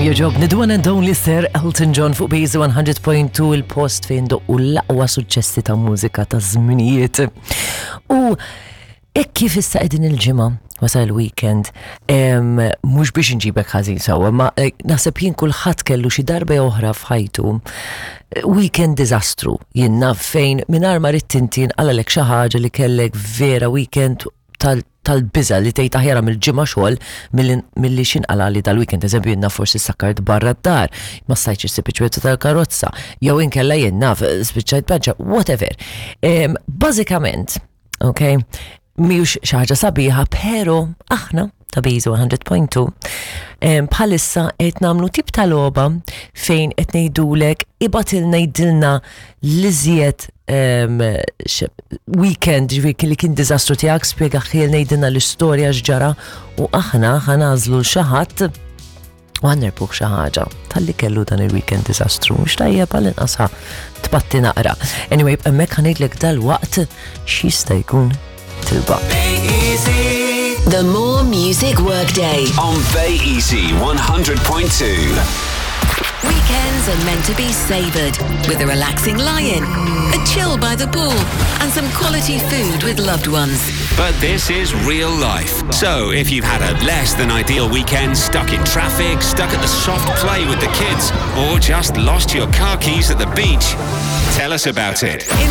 Kemm jogħġobni the one and only Sir Elton John fuq Base 100.2 il-post fejn doqqu l-aqwa suċċessi ta' mużika ta' żminijiet. U hekk kif issa qegħdin il-ġimgħa wasal il-weekend, mhux biex nġibek ħażin sewwa, ma eh, naħseb jien kulħadd kellu xi darba jew oħra f'ħajtu eh, weekend diżastru. Jien naf fejn mingħajr ma ridt inti nqalalek xi ħaġa li kellek vera weekend tal tal-biża' li tgħid aħjar għamil ġimgħa xogħol milli x'inqalali dal-weekend. Eżempju jien naf forsi sakkart barra d-dar, ma stajtx issib iċ-ċwietu tal-karozza, jew inkella jien naf spiċċajt panċa, whatever. Bażikament, ok, mhijiex xi ħaġa sabiħa, pero aħna ta' Bizu 100.2 bħalissa qed nagħmlu tip ta' logħba fejn qed ngħidulek ibatilna jidilna l-iżjed weekend ġifieri li kien diżastru tiegħek spjega ħiel ngħidilna l-istorja x'ġara u aħna ħanażlu l xi ħadd u ħanerbuh xi ħaġa talli kellu dan il-weekend diżastru mhux tajjeb għal inqas tpatti naqra. Anyway, hemmhekk ħanejdlek dal-waqt x'jista' jkun tilba. The More Music Workday. On Bay Easy 100.2. Weekends are meant to be savoured with a relaxing lie-in, a chill by the pool, and some quality food with loved ones. But this is real life. So if you've had a less than ideal weekend stuck in traffic, stuck at the soft play with the kids, or just lost your car keys at the beach, tell us about it. In